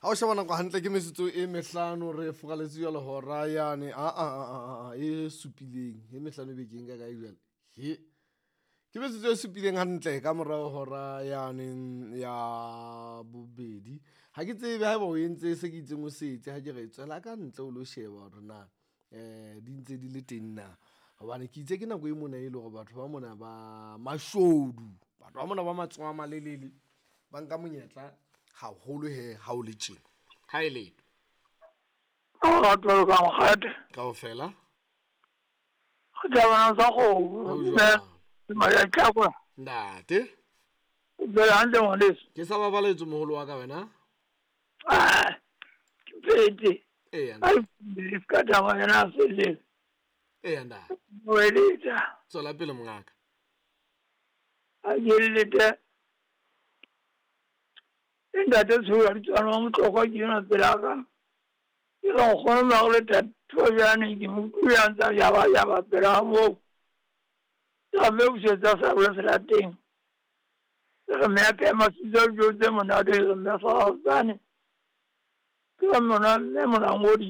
Ha o sheba nako hantle ke metsotso e mehlano re furaletse jwale hora yane a a a a e supileng e mehlano bekeng ka kae jwale he ke metsotso e supileng hantle ka morao hora yane ya bobedi. Ha ke tsebe haeba o entse se ke itseng o se etse ha ke re tswela ka ntle o lo sheba hore na di ntse di le teng na. Hobane ke itse ke nako e mona e le hore batho ba mona ba mashodu, batho ba mona ba matsoho a malelele ba nka monyetla haholo he ha o le tjena. Ha e letho. Ka nkgate. Kaofela. Re tsa kgomo. Ho jwang? Maya Ntate. Tswela hantle ngwaneso. Ke sa babaletswe moholo wa ka wena. Ah, ke phetse. Eya Ai, ntate. se ka taba yena a felletse. Eya ntate. O eletsa. Tswela pele mongaka. A ke lete. E ntate Tshola ditswana wa Motlokwa ke yona pela ka. Ke re nkgono Marleta Thojane ke mo utlwile a ntsa yaba yaba pela moo. Ke mme busetsa sa bole selateng. Ke re mme a pheha masutsa dijo tse monate, ke re mme sa tsane. Ke re mona mme monangodi.